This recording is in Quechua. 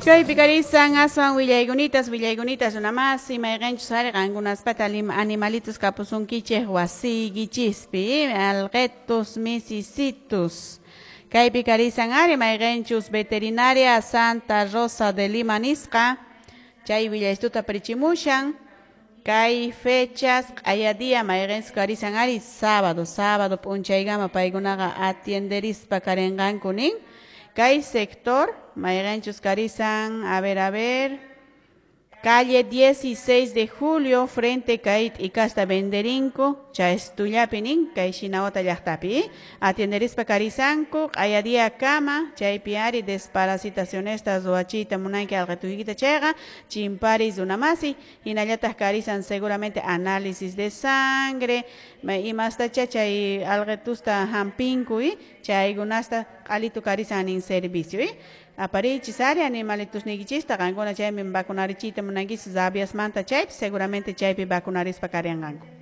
Kaypi karisan aswan willaykunitas, willaykunitas runamasi, mayqinchus ari qankunaspata animalitos kapusunkichik wasiykichispi, alqitus, misisitus. Kaypi karisan ari mayqinchus Veterinaria Santa Rosa de Lima nisqa, chay willaystuta prichimushan. Kay fechas q'aya día mayqinchus karisan ari sábado, sábado p'unchaykama paykunaqa atienderispa karinqanku nin. Kay sector mayqinchus karisan, a ver, calle 16 de Julio, frente kay t'ikasta venderinku, chaystullapi nin, kay Shinawata llaqtapi. Atienderispa karisanku, q'aya día kama, chaypi ari desparasitacionesta ruwachiyta munanki alqituykita chayqa, chimpari runamasi, hinallataq karisan seguramente análisis de sangre, imastacha chay alqitusta hampinku, chaykunasta q'alitu karisan nin servicio, Aparichis ari animalitus niykichista qankuna chaymi vacunarichiyta munankichis rabiasmanta chaypi seguramente chaypi vacunarispa karinqanku.